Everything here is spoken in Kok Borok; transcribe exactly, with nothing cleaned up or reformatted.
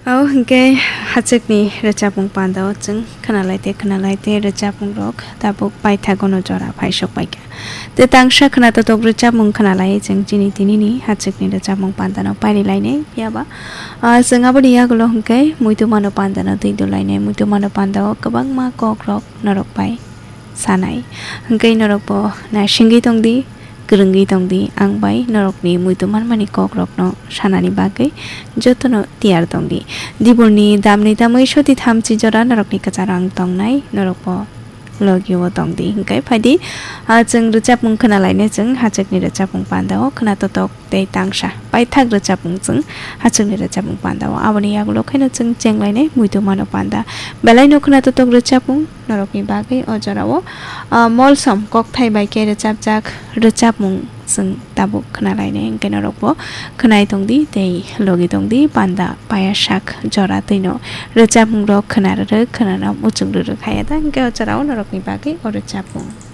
O hwnkhe hachwkni rwchapmung pandao chwng khwnalaite khwnalaite rwchapmungrok tabuk paithagono jora phaisok paikha. Tei tangsa khwnatotok rwchapmung khwnalai chwng chini tinini hachwkni rwchapmung pandano pairilainai. Phiyaba, ah, chwng aboni yagulo hwnkhe muitumano pandano twi dolainai. Muitumano pandao kwbangma kokrok norok bai sanai. Hwnkhe norokbo naisingwi tongdi, kwrwngwi tongdi, ang bai norokni muitu manmani kokrokno sanani bagwi jotono tiyar tongdi. Dibolni damni tamwi soti thamchi jora norokni kwcharo ang tongnai, norokbo logio tongdi. Hwnkhe phaidi, ah, chwng rwchapmung khwnalainai chwng hachwkni rwchapmung pandao khwnatotok tei tangsa paithak rwchapmung chwng hachwkni rwchapmung pandao. Aboni yagulo khaino chwng chenglainai muitu mano panda. Belaino khwnatotok rwchapmung norokni bagwi o jorao, ah, molsom kokthai bai khe rwchapjak rwchapmung chwng tabuk khwnalainai, hwnkhe norokbo khwnai tongdi tei logi tongdi panda payasak jora twino rwchapmungrok khwnarwrwk khwnana muchung rwrwk haya da, hwnkhe o jorao norokni bagwi o rwchapmung.